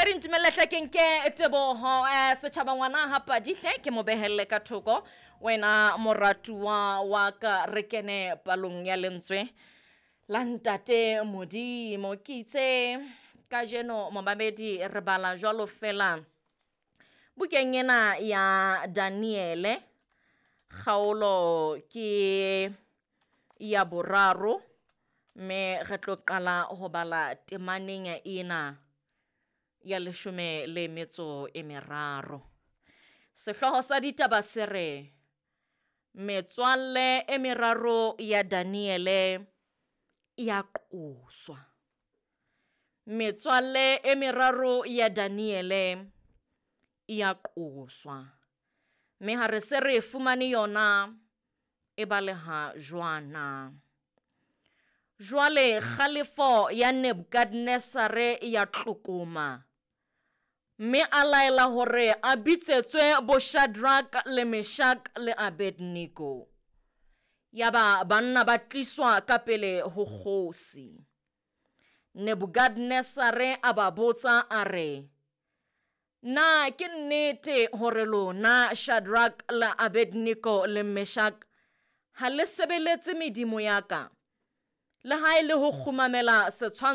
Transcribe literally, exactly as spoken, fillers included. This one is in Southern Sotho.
Mopedi, ntumelle hle ke nke teboho eh, setjhaba ngwana ha padihle ke mo behelle ka thoko. Wena moratuwa wa ka, re kene palong ya lentswe la ntate Modimo. Ke itse kajeno momamedi re bala jwalo fela bukeng ena ya Daniele, kgaolo ke ya boraro, mme re tlo qala ho bala temaneng ena ya leshome le metso e meraro. Sehlooho sa ditaba se re metswalle e meraro ya Daniele ya qoswa. Metswalle e meraro ya Daniele ya qoswa. Mme ha re se re fumane yona e baleha jwana. Jwale kgalefo ya Nebukadnesare ya tlokoma, mme a laela hore a bitsetswe bo Shadrack le Meshach le Abednego. Yaba banna ba tliswa ka pele ho kgosi. Nebukadnesare a ba botsa a re, na ke nnete hore lona Shadrack le Abednego le Meshach ha le sebeletse medimo ya ka, le ha e le ho kgumamela setshwantsho